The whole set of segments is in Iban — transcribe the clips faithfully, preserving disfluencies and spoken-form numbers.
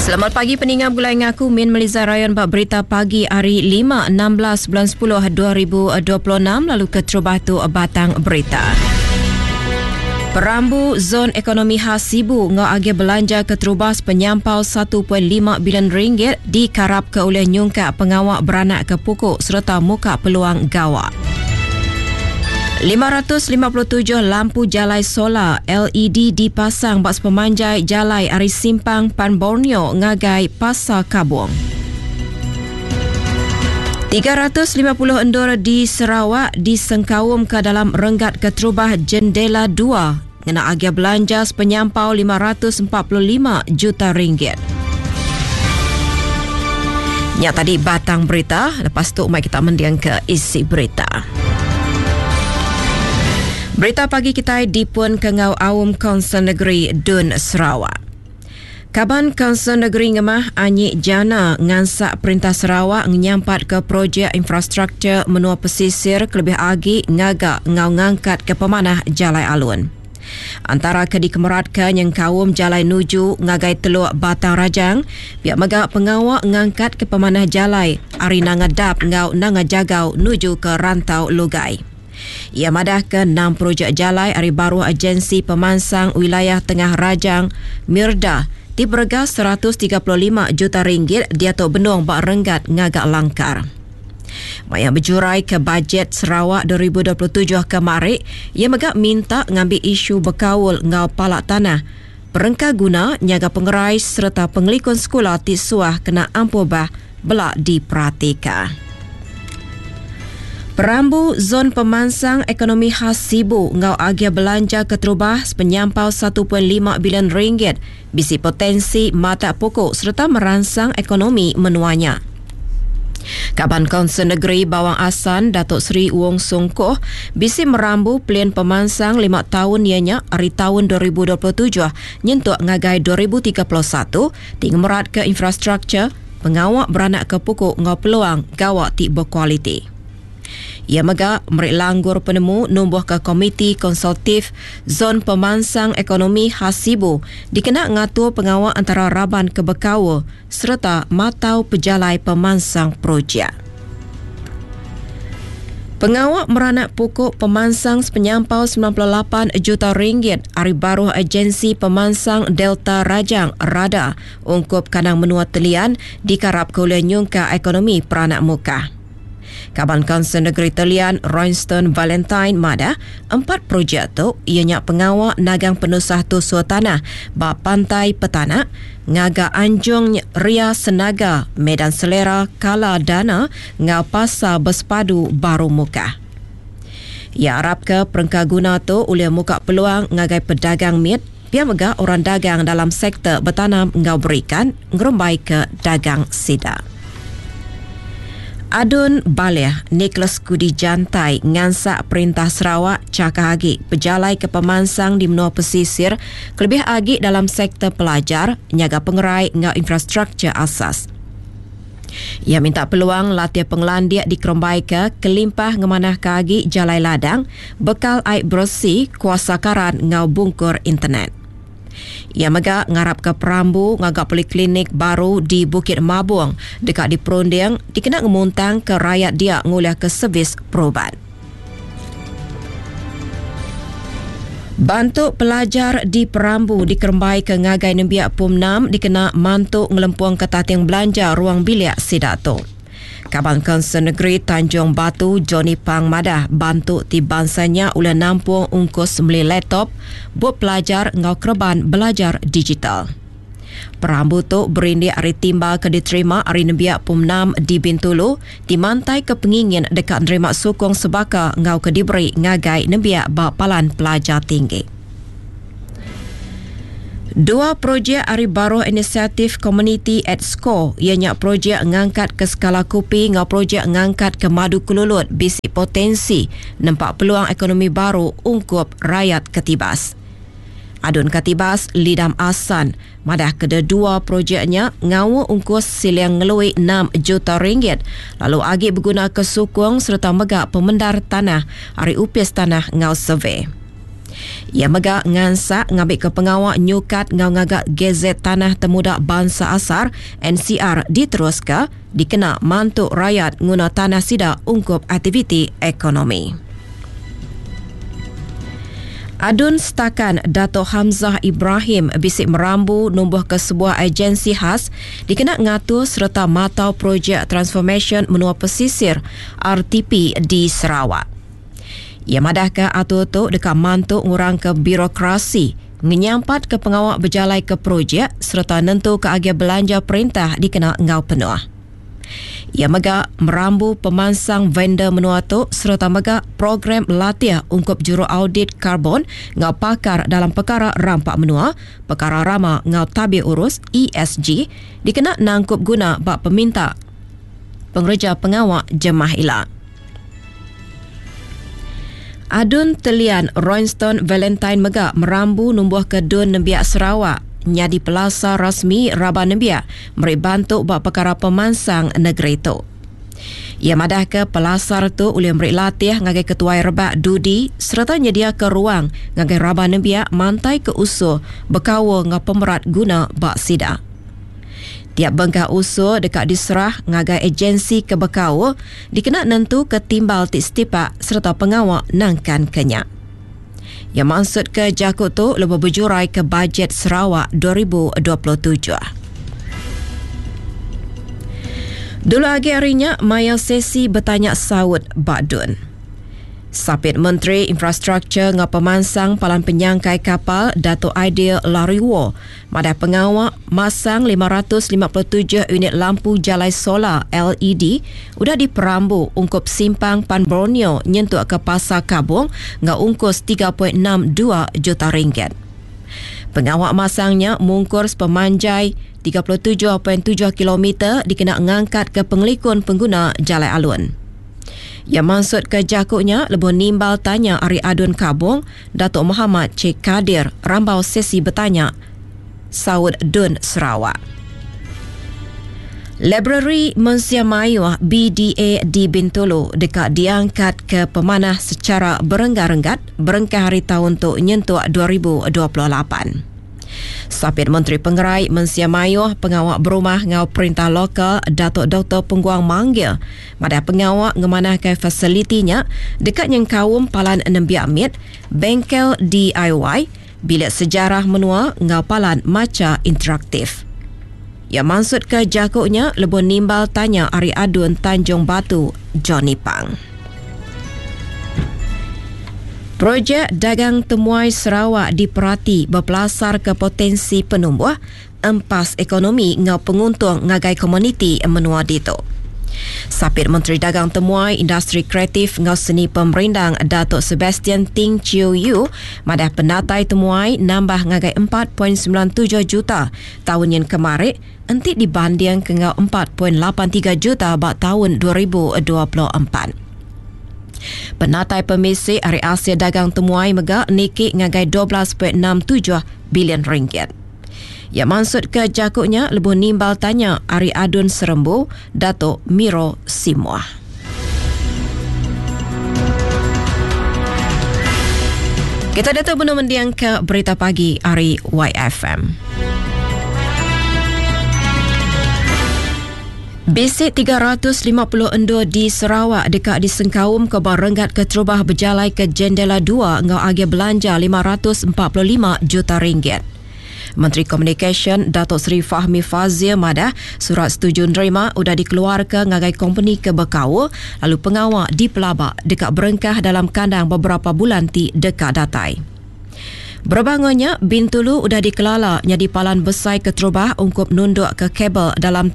Selamat pagi peninga gulai ngaku Min Meliza Rayon bak berita pagi hari lima enam belas bulan sepuluh dua ribu dua puluh enam lalu keterubah tu batang berita. Perambu Zon Ekonomi Khas Sibu ngau agi belanja keterubah penyampau satu perpuluhan lima bilion ringgit dikarap ke oleh nyungkak pengawak beranak ke pukuk serta muka peluang gawak. lima ratus lima puluh tujuh lampu jalai solar L E D dipasang bak sepemanjai jalai ari Simpang Pan Borneo ngagai Pasar Kabung. tiga ratus lima puluh endur di Sarawak disengkaum ke dalam renggat keterubah Jendela dua ngena agia belanja sepenyampau lima ratus empat puluh lima juta ringgit. Nya tadi batang berita, lepas tu mai kita mendiang ke isi berita. Berita pagi kita dipun ke ngau Aum Kaunsil Negeri Dun Sarawak. Kaban Kaunsil Negeri Ngemah Anyi Jana ngansak Perintah Sarawak ngenyampat ke projek infrastruktur menua pesisir kelebih agi ngagak ngau ngangkat ke pemanah Jalai Alun. Antara ke dikemeratkan yang kaum Jalai Nuju ngagai Teluk Batang Rajang, pihak megak pengawak ngangkat ke pemanah Jalai Ari Nanga Dap ngau Nanga Jagau nuju ke Rantau Lugai. Ia madah ke enam projek jalai ari baruh Agensi Pemansang Wilayah Tengah Rajang Mirda ti berega seratus tiga puluh lima juta ringgit diatu benung bak renggat ngagak langkar. Maya berjurai ke bajet Sarawak dua ribu dua puluh tujuh kemari, ia megak minta ngambil isu berkaul ngau palak tanah, perengka guna nyaga pengerai serta pengelikun sekolah ti suah kena ampuh bah belak diperhatikan. Perambu Zon Pemansang Ekonomi Khas Sibu ngau agia belanja keterubah sepenyampau satu perpuluhan lima bilion ringgit bisi potensi mata pokok serta merangsang ekonomi menuanya. Kaban Kaunsil Negeri Bawang Assan Datuk Seri Wong Sung Koh bisi merambu pelian pemansang lima tahun ianya hari tahun dua ribu dua puluh tujuh nyentuk ngagai dua ribu tiga puluh satu ti ngemerat ke infrastruktur pengawak beranak ke pokok ngau peluang gawak ti berkualiti. Ia megak merik langgur penemu numbuh ke Komiti Konsultif Zon Pemansang Ekonomi Khas Sibu dikena ngatur pengawak antara raban kebekawa serta matau pejalai pemansang projek. Pengawak meranak pokok pemansang sepenyampau sembilan puluh lapan juta ringgit ari baruh Agensi Pemansang Delta Rajang Rada ungkup kanang menua Telian dikarap ke oleh nyungka ekonomi peranak muka. Kaban Kaunsil Negeri Telian Royston Valentine Mada, empat projek tu ianya pengawak nagang penusah tusur tanah ba pantai Petanak, ngaga Anjung Ria Senaga, Medan Selera Kala Dana, ngau Pasar Bersepadu Baru Muka. Ia harap ke perengka guna tu oleh muka peluang ngagai pedagang miet, pia mega orang dagang dalam sektor bertanam ngau berikan ngerembai ke dagang sida. Adun Baleh Nicholas Kudi Jantai ngansak Perintah Sarawak cakah agi pejalai ke pemansang di menua pesisir kelebih agi dalam sektor pelajar nyaga pengerai ngau infrastruktur asas. Ia minta peluang latih penglandiak di Kerombaika kelimpah ngemanah ke agi jalai ladang bekal air bersih kuasa karan ngau bungkur internet. Ia mega ngarap ke perambu ngagak poliklinik baru di Bukit Mabung dekat di Perunding dikena ngemuntang ke rakyat dia nguliah ke servis perubat. Bantu pelajar di Perambu dikerembai ke ngagai nembiak P U M enam dikena mantu ngelempuang ke tating belanja ruang bilik sidato. Kaban Kaunsil Negeri Tanjung Batu Johnny Pang Madah bantu ti bangsanya oleh nampung ungkus beli laptop buat pelajar ngau kerban belajar digital. Perambu tu berindik ari timba ke diterima ari nembiak P U M enam di Bintulu dimantai ke pengingin dekat nerima sukong sebaka ngau ke diberi ngagai nembiak ba palan pelajar tinggi. Dua projek ari baruh inisiatif Community at Score ianya projek ngangkat ke skala kopi ngau projek ngangkat ke madu kelulut bisi potensi nempak peluang ekonomi baru ungkup rakyat Katibas. Adun Katibas Lidam Asan madah kedua projeknya ngau ungkus siliang ngelui enam juta ringgit lalu agi berguna kesukung serta megak pemendar tanah ari upis tanah ngau survey. Ia mega ngansak ngambil ke pengawak nyukat ngau ngagak Gazet Tanah Temuda Bangsa Asar N C R diteruska dikena mantuk rakyat nguna tanah sida ungkup aktiviti ekonomi. Adun Setakan Dato' Hamzah Ibrahim bisik merambu numbuh ke sebuah agensi khas dikena ngatur serta matau projek transformation menua pesisir R T P di Sarawak. Ia madah ke atur tu dekat mantuk ngurang ke birokrasi, ngenyampat ke pengawak berjalai ke projek serta nentu ke agia belanja perintah dikena ngau penuh. Ia mega merambu pemansang vendor menua tu serta mega program latih ungkup juru audit karbon ngau pakar dalam perkara rampak menua, perkara rama ngau tabir urus E S G dikena nangkup guna bak peminta pengerja pengawak jemah ila. Adun Telian Royston Valentine mega merambu numbuh ke Dun Nembiak Sarawak nyadi pelasar rasmi Raban Nembiak meri bantu bak perkara pemansang negeri tu. Ia madah ke pelasar tu boleh meri latih ngagai ketuai rebak dudi serta nyedia ke ruang ngagai Raban Nembiak mantai ke usul berkawa ngau pemerat guna bak sida. Tiap bengkah usul dekat diserah ngagai agensi kebekau dikena nentu ke timbal ti setipak serta pengawak nangkan kenyak. Yang maksud ke jakut tu lebih berjurai ke bajet Sarawak dua ribu dua puluh tujuh. Dulu agi harinya maya sesi bertanya saut Badun. Sapit Menteri Infrastruktur ngau Pemansang Palan Penyangkai Kapal Dato' Aidil Lariwoo madah pengawak masang lima ratus lima puluh tujuh unit lampu jalai solar L E D udah diperambu ungkup simpang Pan Borneo nyentuk ke Pasar Kabung ngau ungkus tiga perpuluhan enam dua juta ringgit. Pengawak masangnya mungkur sepemanjai tiga puluh tujuh perpuluhan tujuh kilometer dikena ngangkat ke pengelikun pengguna jalai alun. Yang maksud ke jakuknya lebuh nimbal tanya Ari Adun Kabung Datuk Muhammad Cik Kadir rambau sesi bertanya Saud Dun Sarawak. Library Mensia Mayuh B D A di Bintulu dekat diangkat ke pemanah secara berenggat-renggat berengkah hari tahun tu nyentuk dua ribu dua puluh lapan. Sapit Menteri Pengerai Mensia Mayuh Pengawak Berumah ngau Perintah Lokal Datuk Doktor Pengguang Manggil pada pengawak ngemanah ke fasilitinya dekat nyengkaum Palan Nembiak Mit, Bengkel D I Y, Bilik Sejarah Menua ngau Palan Maca Interaktif. Ya maksud ke jakuknya lebuh nimbal tanya Ari Adun Tanjung Batu Johnny Pang. Projek Dagang Temuai Sarawak diperhati berpelasar ke potensi penumbuh empas ekonomi ngau penguntung ngagai komuniti menua ditu. Sapit Menteri Dagang Temuai Industri Kreatif ngau Seni Pemerindang Datuk Sebastian Ting Chiu Yu madah penatai temuai nambah ngagai empat perpuluhan sembilan tujuh juta tahun yang kemarin entik dibanding ke ngau empat perpuluhan lapan tiga juta bak tahun dua ribu dua puluh empat. Penatai pemisi Hari Asia Dagang Temuai mega nikik ngagai dua belas perpuluhan enam tujuh bilion ringgit. Ya maksud ke jakuknya lebuh nimbal tanya Ari Adun Serembu Datuk Miro Simuah. Kita datuk benar mendiang ke berita pagi Ari Y F M. Bisik tiga ratus lima puluh endur di Sarawak dekat disengkaum ke barenggat keterubah berjalai ke Jendela dua ngau agi belanja lima ratus empat puluh lima juta ringgit. Menteri Komunikasi Datuk Seri Fahmi Fazil madah surat setuju nerima udah dikeluarkan ngagai company ke Bekau lalu pengawak di Pelabak dekat berengkah dalam kandang beberapa bulan ti dekat datai. Berbangunnya Bintulu udah dikelala nyadi palan besai keterubah ungkup nunduk ke kabel dalam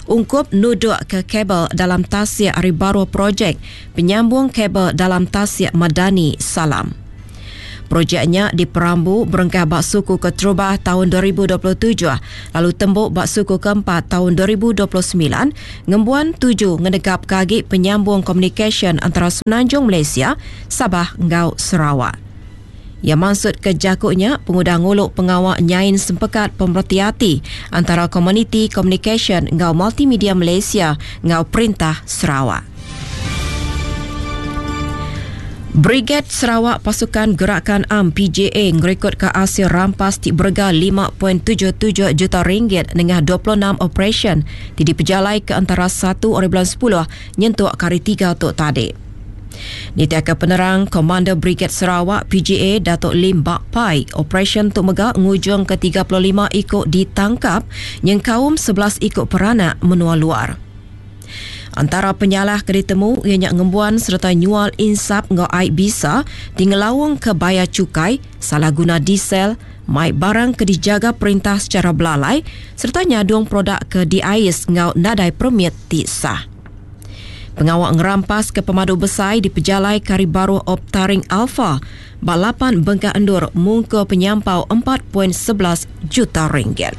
ungkup nuduk ke kabel dalam tasik hari baru projek penyambung kabel dalam tasik Madani Salam. Projeknya diperambu berengkah bak suku keterubah tahun dua ribu dua puluh tujuh lalu tembuk bak suku keempat tahun dua ribu dua puluh sembilan ngembuan tujuh ngenegap kagi penyambung komunikasi antara Semenanjung Malaysia, Sabah ngau Sarawak. Ia maksud ke jakuknya pengudah nguluk pengawak nyain sempekat pemerhati antara komuniti komunikasi ngau multimedia Malaysia ngau Perintah Sarawak. Briged Sarawak Pasukan Gerakan Am P J A ngerekod ke hasil rampas ti berega lima perpuluhan tujuh tujuh juta ringgit nengah dua puluh enam operasyen ti dipejalai ke antara satu hari bulan sepuluh nyentuk ke hari tiga tu tadi. Nitiaka penerang Komander Briged Sarawak P J A Datuk Lim Bak Pai, operasyen tu mega ngujung ke tiga puluh lima ikut ditangkap nyengkaum sebelas ikut peranak menua luar. Antara penyalah ke ditemu ianya ngembuan serta nyual insap ngau air bisa tinggalawang ke bayar cukai, salah guna diesel, mai barang ke dijaga perintah secara belalai serta nyadung produk ke diais ngau nadai permit ti sah. Pengawak ngerampas ke pemadu besar di pejalai Kari Baru Op Taring Alpha balapan bengkak endur mungka penyampau empat perpuluhan sebelas juta ringgit.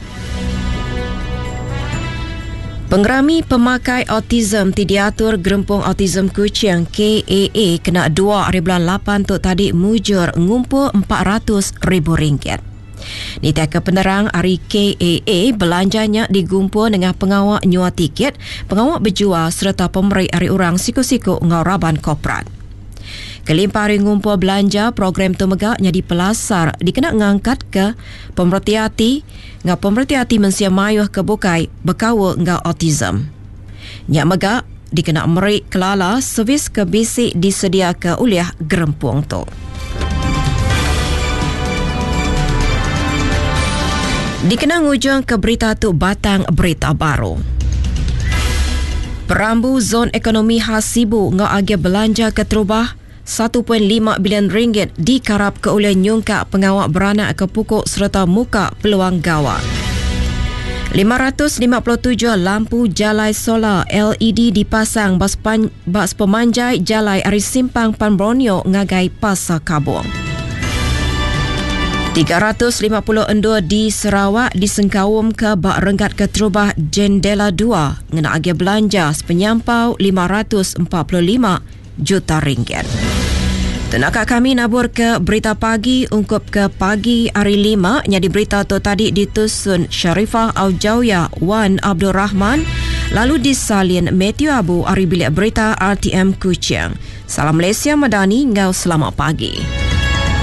Pengerami pemakai autism ti diatur Gerempung Autism Kuching K A A kena dua hari bulan lapan tu tadi mujur ngumpul empat ratus ribu ringgit. Nitiaka penerang hari K A A belanjanya digumpul dengan pengawak nyua tiket, pengawak berjual serta pemeri hari orang siku-siku ngau raban korporat. Kelimpah hari ngumpul belanja, program tu megak jadi pelasar dikena ngangkat ke pemerhati hati ngau pemerhati hati mensia mayuh ke bukai berkawa ngau autism. Nyak megak dikena merik kelala servis ke bisik disediakan oleh gerempung tu. Dikena ngujung ke berita tu batang berita baru. Perambu Zon Ekonomi Khas Sibu ngau agi belanja ke terubah satu perpuluhan lima bilion ringgit dikarap ke oleh nyungkak pengawak beranak ke pukul serta muka peluang gawat. lima ratus lima puluh tujuh lampu jalai solar L E D dipasang bas pan-, bas pemanjai jalai ari Simpang Pan Borneo ngagai Pasar Kabung. tiga ratus lima puluh endur di Sarawak disengkaum ke bak renggat keterubah Jendela dua ngena agi belanja sepenyampau lima ratus empat puluh lima juta ringgit. Tenaka kami nabur ke berita pagi ungkup ke pagi hari lima nyadi berita tu tadi ditusun Sharifah Aujauya Wan Abdul Rahman lalu disalin Matthew Abu ari bilik berita R T M Kuching. Salam Malaysia Madani ngau selamat pagi.